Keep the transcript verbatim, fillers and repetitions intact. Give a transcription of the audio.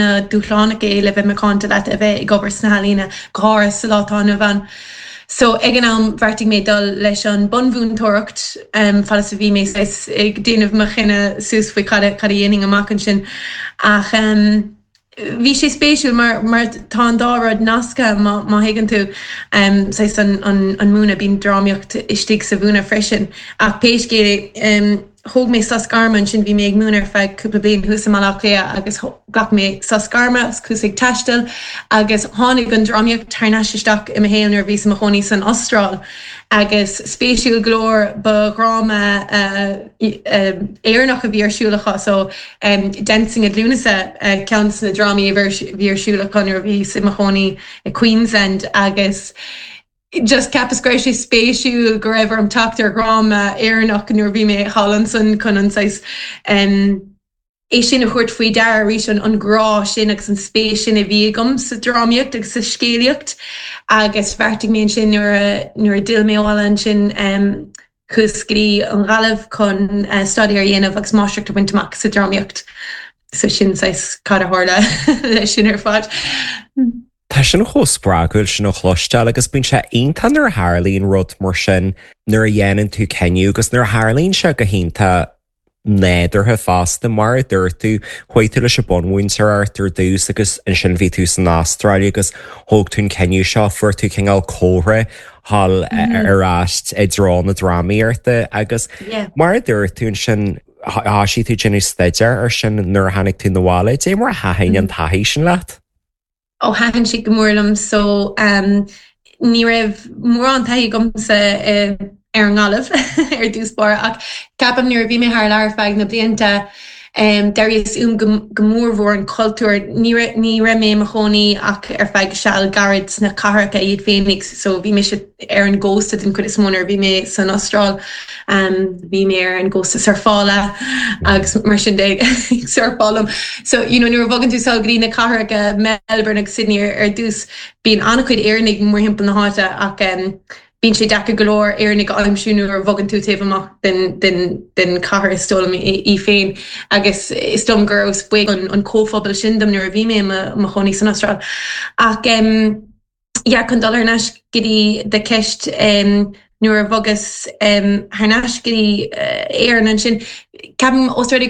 an-dúshlánach é le bheith macánta leat a bheith ag obair sna healaíona go háirithe sa lá atá inniu ann. So ag an am bheartaigh mé dul leis an bunmhúinteoireacht um, fad a bhí mé ag déanamh mo chinneadh suas faoi cad cad a dhéanfainn amach ansin ach um, Bhí sé spéisiúil mar mar tá an dá rud nasctha má má thuigeann tú um, an, an, an múineadh bíonn drámaíocht istigh sa mhúineadh freisin ach pé scéal um, thóg mé sos gairme ansin bhí mé ag múineadh ar feadh cúpla bliain thuas i Mbaile Átha Cliath agus ghlac mé sos gairme chuas ag taisteal agus tháinig an drámaíocht thar n-ais isteach i mo shaol nuair bhíos i mo chónaí san Astráil. agus spéisiúil go leor ba dhráma uh, uh, Éireannach a bhí ar siúl acu so um, Dancing at Lughnasa uh, ceann de na drámaí a bhí ar siúl acu nuair a bhíos i mo chónaí i Queensland agus just cheapas go raibh sé spéisiúil go raibh orm teacht ar dhráma Éireannach nuair bhí mé thall ansin chun an um, é sin a thabhairt faoi deara arís an an grá sin agus an spéis sin a bhí agam sa drámaíocht agus sa scéalaíocht agus bheartaigh mé sin nuair nuair a d'fhill mé abhaile ansin um, chuas go dtí an Ghaillimh chun uh, staidéar a dhéanamh agus máistreacht a bhaint amach sa drámaíocht. So sin cad a tharla leis sin ar fad. Tá sin chomh spreagúil sin a chloisteáil agus bíonn sé iontach nuair a tharlaíonn rud mar sin nuair a dhéanann tú cinneadh agus nuair a tharlaíonn sé go hiontach nádúrtha fosta mar a dúirt tú chuaigh tú leis an bunmhúinteoireacht ar dtús agus ansin bhí tú san Astráil agus thóg tú an cinneadh seo fuair tú cineál comhartha thall ar ais i dtreo na drámaíochta agus mar a dúirt tú ansin thosaigh tú déanamh staidéar ar sin nuair a tháinig tú abhaile, cad é mar a thaitin an taithí sin leat? ó thaitin sé go mór liom so um, ní raibh mórán taithí agamsa uh, ar an nGaillimh ar dtús báire ach ceapaim nuair a bhí mé thar lear feadh na blianta um, d'airíos uaim go, go mórmhór an cultúr ní ní raibh mé i mo chónaí ach ar feadh seal gairid sna cathracha iad féinig so bhí mé ar an gcósta den chuid is mó nuair bhí mé san Astráil um, bhí mé ar an gcósta surfála agus mar sin de surfálaim so you know, nuair a bhogann tú sall go dtí na cathracha Melbourne agus Sydney ar, ar dtús bíonn an-chuid Éireannaigh mórthimpeall na háite ach um, bíonn sé deacair go leor Éireannaigh a aimsiú nuair a bhogann tú taobh amach den, den, den chathair is dóigh liom í féin agus is dom gur spuig an, an comhphobal sin dom nuair a bhí mé i mo chónaí san Astráil. Ach um, yeah, chun dul ar ais go dtí do cheist um, nuair a bhogas um, thar n-ais go dtí uh, Éirinn ansin ceapaim os rud